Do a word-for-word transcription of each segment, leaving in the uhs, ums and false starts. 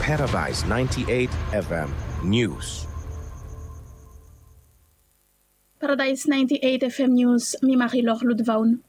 Paradise ninety-eight F M News. Paradise ninety-eight F M News, mi Marilor Ludvaun.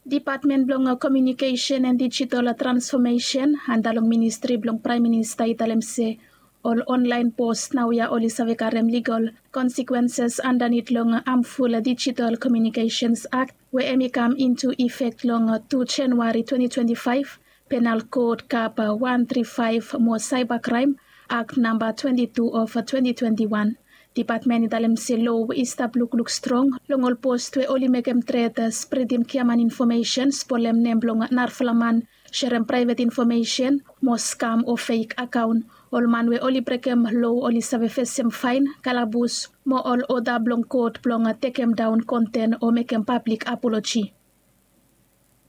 Dipatmen blong Communication and Digital Transformation anda long ministri blong Praem Minista i talem se ol online post naoia oli save karem legal consequences andanit long Harmful Digital Communications Act we hemi kam into effect long two January twenty twenty-five, Penal Code Kap one three five mo Cybercrime Act namba twenty-two of twenty twenty-one. Dipatmen i talem se loa i stap lukluk strong long ol post we oli mekem tret spredim giaman infomesen, spolem nem blong narafala man, serem praevet infomesen mo skam o fek akaon. Ol man we oli brekem loa oli save fesem faen, kalabus mo ol oda blong kot blong tekemdaon konten o mekem pablik apoloji.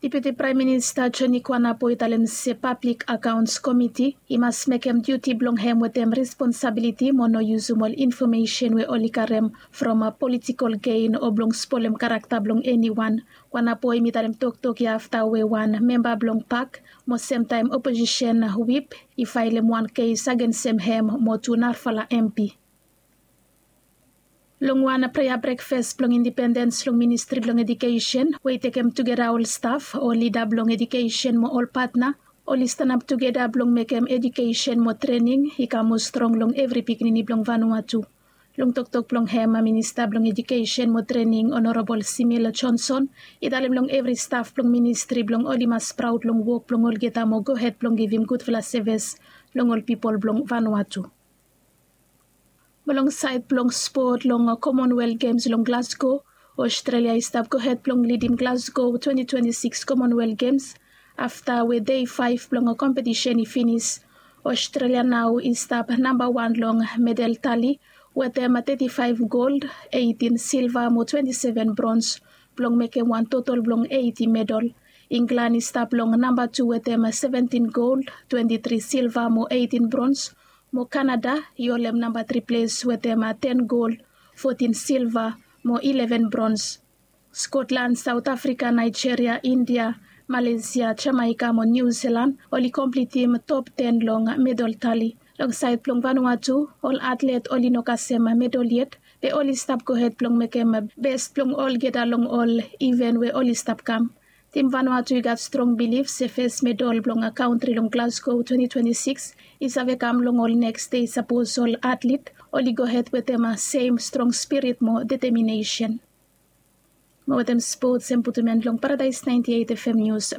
Deputi Praem Minista Johnny Kuanapo i talem se Pablik Akaons Komiti i mas mekem diuti blong hem wetem responsabiliti mo no yusum ol infomesen we oli karem from politikol gen o blong spolem karakta blong eniwan. Kuanapo hemi talem toktok ya afta we wan memba blong pak mo semtaem oposisen wip i faelem wan kes agensem hem mo tu narafala M P. Long wan prea brekfas blong indipendens long Ministri blong Ejukesen we i tekem tugeta ol staf, ol lida blong ejukesen mo ol patna, oli stanap tugeta blong mekem ejukesen mo trening i kam moa strong long evri pikinini blong Vanuatu. Long toktok blong hem, Minista blong Ejukesen mo Trening Honorabol Simil Johnson i talem long evri staf blong ministri blong oli mas praod long wok blong olgeta mo gohed blong givim gudfala sevis long ol pipol blong Vanuatu. Mo long saed blong spot, long Commonwealth Games long Glasgow, Australia i stap gohed blong lidim Glasgow twenty twenty-six Commonwealth Games. Afta we dei faef blong kompetisen i finis, Australia nao i stap nambawan long medal tali wetem teti faef gold, eitin silva mo twenti seven brons blong mekem wan totol blong eiti medal. Inglan i stap long nambatu wetem seventin gold, twenti tri silva mo eitin brons, mo Kanada i holem namba tri ples wetem ten gold, fotin silva mo ileven brons. Skotlan, Saot Afrika, Naejeria, India, Malesia, Jamaeka mo Niu Silan oli komplitim top ten long medal tali. Long saed blong Vanuatu, ol atlet oli no kasem medal yet, be oli stap gohed blong mekem bes blong olgeta long ol iven we oli stap kam. Tim Vanuatu i gat strong bilif se fes medal blong kaontri long Glasgow twenty twenty-six i save kam long ol neks dei sapos ol atlet oli gohed wetem sem strong spirit mo deteminesen. Mo wetem spots, hemi putum en long Paradise ninety-eight F M News.